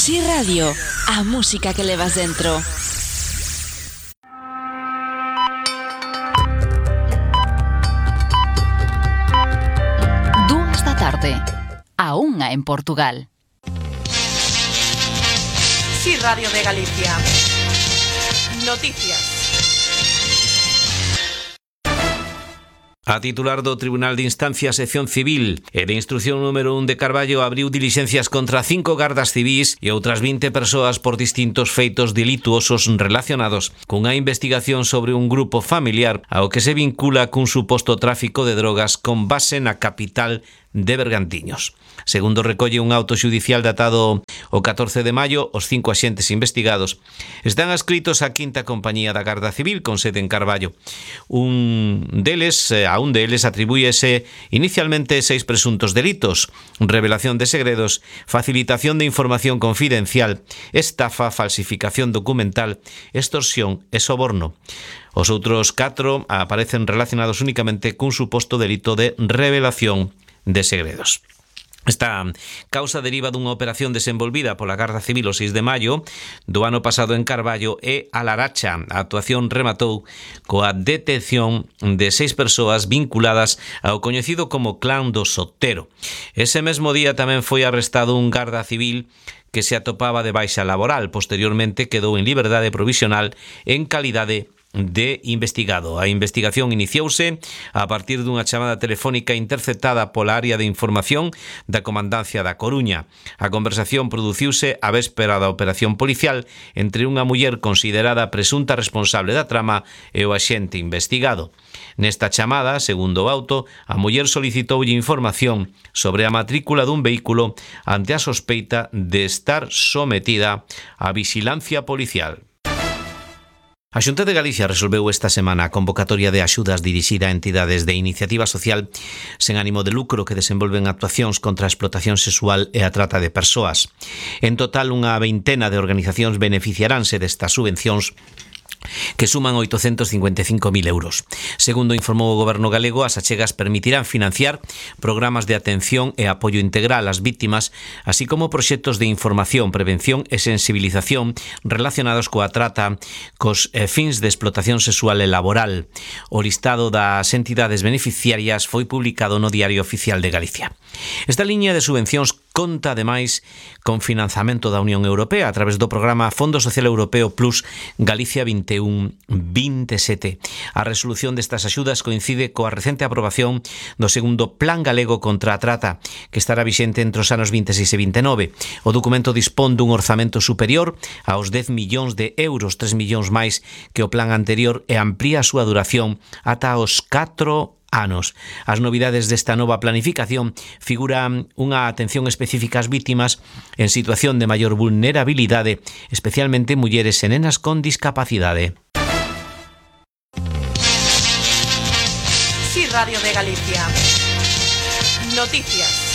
Si Radio, a música que levas dentro. Dúas da tarde, a unha en Portugal. Si Radio de Galicia. Noticias. A titular do Tribunal de Instancia Sección Civil e de Instrucción número 1 de Carballo abriu dilixencias contra 5 gardas civís e outras 20 persoas por distintos feitos delituosos relacionados cunha investigación sobre un grupo familiar ao que se vincula cun suposto tráfico de drogas con base na capital de Bergantiños. Segundo recolle un auto xudicial datado o 14 de maio, os 5 axentes investigados están adscritos á quinta compañía da Garda Civil con sede en Carballo. A un deles atribúyese inicialmente 6 presuntos delitos: revelación de segredos, facilitación de información confidencial, estafa, falsificación documental, extorsión e soborno. Os outros 4 aparecen relacionados únicamente cun suposto delito de revelación de segredos. Esta causa deriva dunha operación desenvolvida pola Garda Civil o 6 de maio do ano pasado en Carballo e a Laracha. A actuación rematou coa detención de 6 persoas vinculadas ao coñecido como Clan do Sotero. Ese mesmo día tamén foi arrestado un Garda Civil que se atopaba de baixa laboral. Posteriormente quedou en liberdade provisional en calidade de investigado. A investigación iniciouse a partir dunha chamada telefónica interceptada pola área de información da Comandancia da Coruña. A conversación produciuse a véspera da operación policial entre unha muller considerada presunta responsable da trama e o axente investigado. Nesta chamada, segundo o auto, a muller solicitoulle información sobre a matrícula dun vehículo ante a sospeita de estar sometida á vixilancia policial. A Xunta de Galicia resolveu esta semana a convocatoria de axudas dirixida a entidades de iniciativa social sen ánimo de lucro que desenvolven actuacións contra a explotación sexual e a trata de persoas. En total, unha veintena de organizacións beneficiaránse destas subvencións que suman 855.000 euros. Segundo informou o Goberno galego, as achegas permitirán financiar programas de atención e apoio integral ás vítimas, así como proxectos de información, prevención e sensibilización relacionados coa trata cos fins de explotación sexual e laboral. O listado das entidades beneficiarias foi publicado no Diario Oficial de Galicia. Esta liña de subvencións conta, ademais, con financiamento da Unión Europea a través do programa Fondo Social Europeo Plus Galicia 21-27. A resolución destas axudas coincide coa recente aprobación do segundo Plan Galego contra a Trata, que estará vixente entre os anos 26 e 29. O documento dispón dun orzamento superior aos 10 millóns de euros, 3 millóns máis que o plan anterior, e amplía a súa duración ata os 4 anos. As novidades desta nova planificación figuran unha atención específica ás vítimas en situación de maior vulnerabilidade, especialmente mulleres e nenas con discapacidade. Si Radio de Galicia. Noticias.